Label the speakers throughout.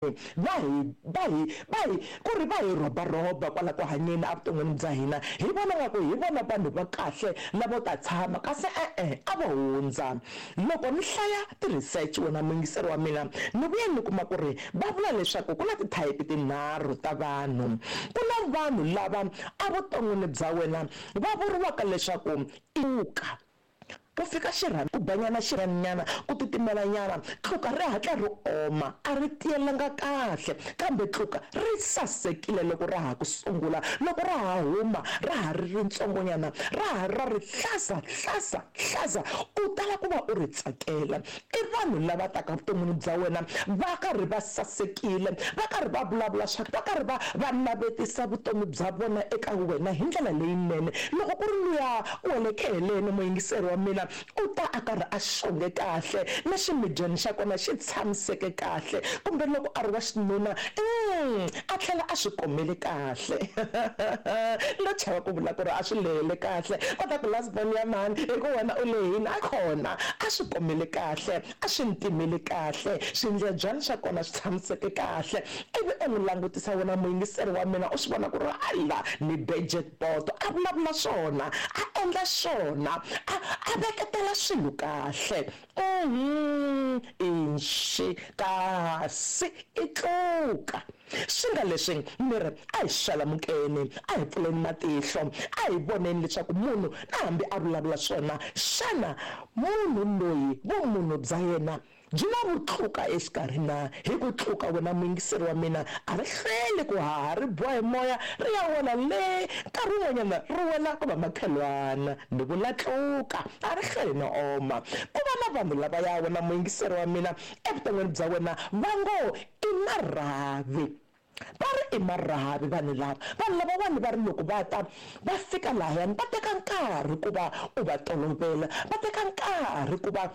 Speaker 1: Va hi va hi va hi ku ri va hi rhobarhoba kwala ku hanyeni evuton'wini bya hina, hi vona nga ku hi vona vanhu va kahle lavo ta tshama, kasi e-e a vo hundza. Loko ni hlaya ti-research wena muyingiseri wa mina, ni vuye ni kuma ku ri va vula leswaku ku na ti-type tinharhu ta vanhu. Ku na vanhu lava evuton'wini bya wena va vuriwaka leswaku i ka. Ku fika xirhami, ku banyana xirhaminyana, ku titimelanyana, tluka ri hatla ri oma, a ri tiyelanga kahle, kambe tluka ri sasekile loko ra ha ku sungula, loko ra ha huma, ra ha ri ritsongonyana, ra ha ri ra rihlaza, hlaza, hlaza, u tala ku va u ri tsakela. I vanhu lava taka evuton'wini bya wena va karhi va sasekile, va karhi va vulavula swa, va karhi va va navetisa vutomi bya vona eka wena hi ndlela leyinene. Loko ku ri luya wa le kheleni, muyingiseri wa mina, u ta a karhi a xonge kahle, na ximidyana xa kona xi tshamiseke kahle, kumbe loko a ri wa xinuna, a tlhela a swi komele kahle. No chava ku vula ku ri a swi lehele kahle, va ta ku last born ya mhani, hi ku wena u lehile. A kona a swi komele kahle, a swi ntimele kahle, swindlebyana swa kona swi tshamiseke kahle, ivi u n'wi langutisa wena muyingiseri wa mina, u swi vona ku ri alla ni be jackpot, a vulavula swona, a endla swona, a a veketela swilo kahle. Uhum, inxi, kasi i tluka. Swi nga leswi ni ri, a hi xalamukeni, a hi pfuleni matihlo, a hi voneni leswaku munhu na hambi a vulavula swona, xana munhu loyi vumunhu bya yena byi na vutluka exikarhi na? Hi ku tluka, wena muyingiseri wa mina, a ri hlweli ku haha ri biwa hi moya ri ya wela le, nkarhi wun'wanyana ri wela ku va makhelwana. Ni vula tluka, a ri hlweli no oma. Ku va na vanhu lavaya, wena muyingiseri wa mina, evuton'wini bya wena va ngo i marhavi. Va ri i marhavi vanhu lava. Vanhu lavawani va ri loko va ta va fika lahayani va teka nkarhi ku va u va tolovela, va teka nkarhi ku va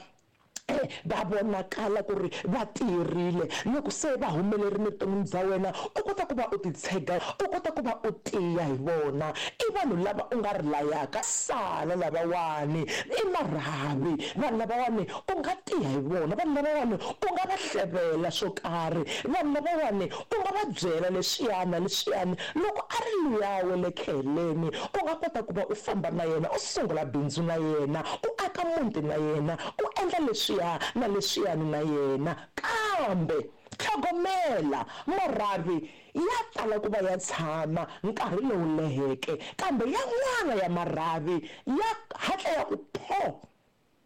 Speaker 1: va vonakala ku ri va tiyerile. Loko se va humelerile evuton'wini bya wena, u kota ku va u titshega, u kota ku va u tiya hi vona. I vanhu lava u nga ri layaka, sala lavawani i marhavi. Vanhu lavawani u nga tiya hi vona, vanhu lavawani u nga va hlevela swo karhi, vanhu lavawani u nga va byela leswiya na leswiyani. Loko a ri luya wa le kheleni, u nga kota ku va u famba na yena, u sungula bindzu na yena, u aka muti na yena, u endla leswiya na leswiyani na yena. Kambe tlhogomela, marhavi ya tala ku va ya tshama nkarhi lowu leheke, kambe yan'wana ya marhavi ya hatla ya ku pho!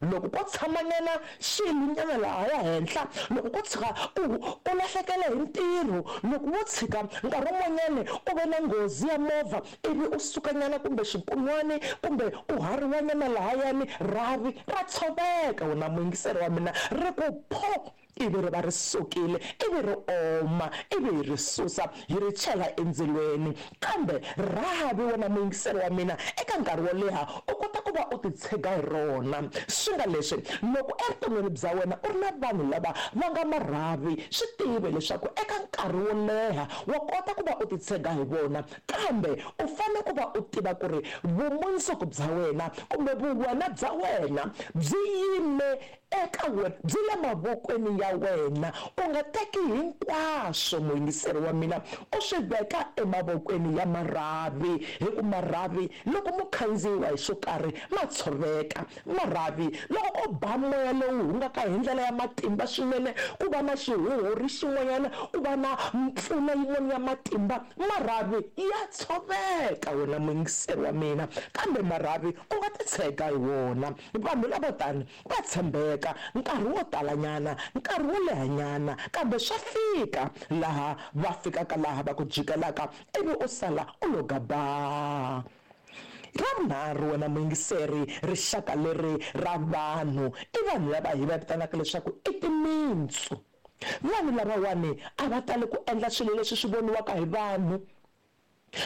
Speaker 1: Loko ko tshamanyana xiyilonyana lahaya henhla, loko ko tshika u u lahlekele hi ntirho, loko wo tshika nkarhi wun'wanyana u ve na nghozi ya movha ivi u sukanyana kumbe xikunwani kumbe u hariwanyana lahayani, rhavi ra tshoveka wena muyingiseri wa mina, ri ku pho! Ivi ri va ri sukile, ivi ri oma, ivi hi ri susa hi ri chela endzilweni. Kambe rhavi, wena muyingiseri wa mina, eka nkarhi wo leha u kota ku va u titshega hi rona. Swi nga leswi, loko evuton'wini bya wena u ri na vanhu lava va nga marhavi, swi tive leswaku eka nkarhi wo leha wa kota ku va u titshega hi vona. Kambe u fanele ku va u tiva ku ri vumundzuku bya wena kumbe vuwena bya wena byi yime Eka wena, byi le mavokweni ya wena. U nga teki hinkwaswo, muyingiseri wa mina, u swi veka emavokweni ya marhavi, hi ku marhavi, loko mo khandziyiwa hi xo karhi, ma tshoveka. Marhavi, loko ko ba moya lowu hungaka hi ndlela ya matimba swinene, ku va na xihuhuri xin'wanyana, ku va na mpfula yin'wana ya matimba, marhavi ya tshoveka, wena muyingiseri wa mina. Kambe marhavi u nga titshega hi wona. Vanhu lavo tano va tshembeka nkarhi wo talanyana, nkarhi wo lehanyana, kambe swa fika laha va fikaka laha va ku jikelaka ivi u sala u lo gabaa. Ra vunharhu, wena muyingiseri, rixaka leri ra vanhu i vanhu lava hi va vitanaka leswaku i timintsu. Vanhu lavawani a va tali ku endla swilo leswi swi voniwaka hi vanhu.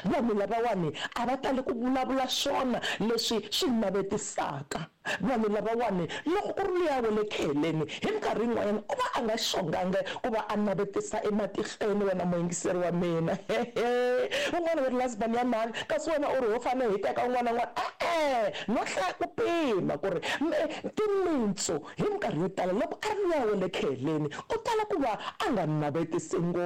Speaker 1: Vanhu lavawani a va tali ku vulavula swona leswi swi navetisaka. Vanhu lavawani loko ku ri luya wa le kheleni, hi minkarhi yin'wanyana u va a nga xongangi ku va a navetisa ematihlweni, wena muyingiseri wa mina. Hehe! Un'wana u ri last born ya mhani, kasi wena u ri ho fanele hi teka un'wana na un'wana. E-e, no hlaya ku pima ku ri timintsu hi minkarhi yo tala loko a ri luya wa le kheleni u tala ku va a nga navetisi ngopfu.